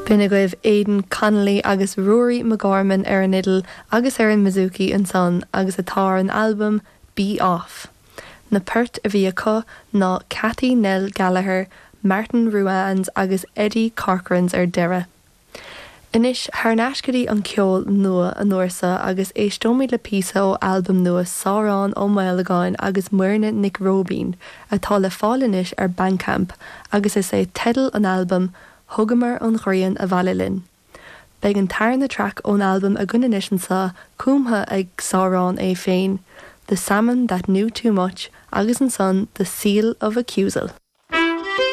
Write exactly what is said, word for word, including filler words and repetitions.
B'in agaibh Aidan Connolly agus Ruairí McGorman ar an fhidil agus ar an mbouzouki ansan agus atá ar an albam Be Off. Na poirt a bhí acu ná Cathy Nell Gallagher, Martin Ruane's agus Eddie Corcoran's ar deireadh. Anois thar n-ais go dtí an ceol nua an uair seo agus éisteoimid le píosa ó albam nua Sárán Ó Maolagáin agus Muirne Nic Róibín atá le fáil anois ar Bandcamp agus is é teideal an albaim Thugamar an ghrian abhaile linn. Beidh an tarna traic ón albam againn anois anseo cumtha ag Sárán é féin, The Salmon That Knew Too Much agus ansan The Seal of Accusal.